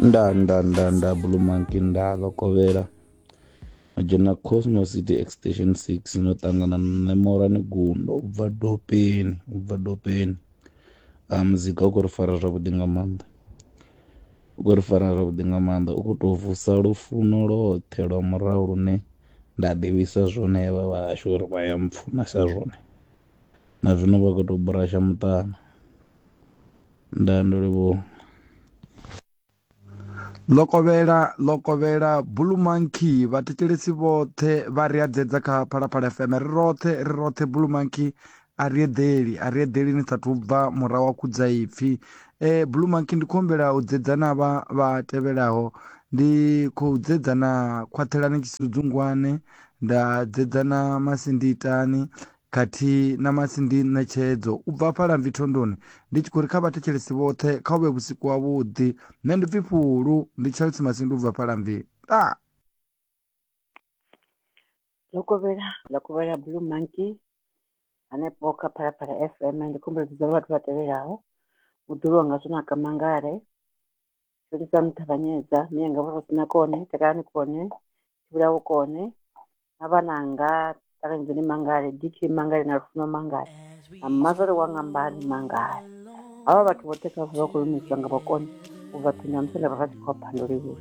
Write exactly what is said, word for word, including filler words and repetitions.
Nda nda nda nda Blue Monkey nda ḽo kovhela no dzhena Cosmo City Extension six no ṱangana na nṋe Morani Gundo u bva Dopeni u bva Dopeni. A muzika u khou ri fara zwavhuḓi nga maanḓa, u khou ri fara zwavhuḓi nga maanḓa u khou tou vusa lufuno lwoṱhe lwa murahu lune nda ḓivhisa zwone havha vhahashu uri vha ya mpfunesa zwone na zwino vha khou tou burasha muṱana. Ndaa ndo livhuwa. Ḽo kovhela ḽo kovhela Blue Monkey vhathetshelesi vhoṱhe vha ri a dzedza kha Phalaphala F M ri roṱhe ri roṱhe Blue Monkey a ri eḓeli a ri eḓeli ni sathu bva murahu wa khudza ipfi. Eh Blue Monkey ndi khou humbela u dzedza na vha vha tevhelaho, ndi khou dzedza na Khwaṱhelani Tshisudzungwane, nda dzedza na Masinditani khathihi na Masindi Ṋetshedzo u bva hafhaḽa Mvithondoni. Ndi tshi khou ri kha vhathetshelesi vhoṱhe kha hu vhe vhusiku havhuḓi. Nṋe ndi pfi Fhulu, ndi Chelsea Masindi u bva hafhaḽa Mvi. Ndaa. Ḽo kovhela ḽo kovhela Blue Monkey hanefho kha Phalaphala F M. Ndi khou humbela u dzudza vhathu vha tevhelaho: muḓulu wanga Zwonaka Mangale, Felisani Ṱavhanyedza, mianga Vho Rosina Kone, Takalani Kone, Tshivhulaho Kone, na vhananga Ṱanganedzeni Mangale, D K Mangale na Lufuno Mangale, na mmazwale wanga Mbali Mangale. Havha vhathu vhoṱhe kha vha khou lumiswa nga vhakone u bva Ṱhonyamusanda vha Ratshikhopa. Ndo livhuwa.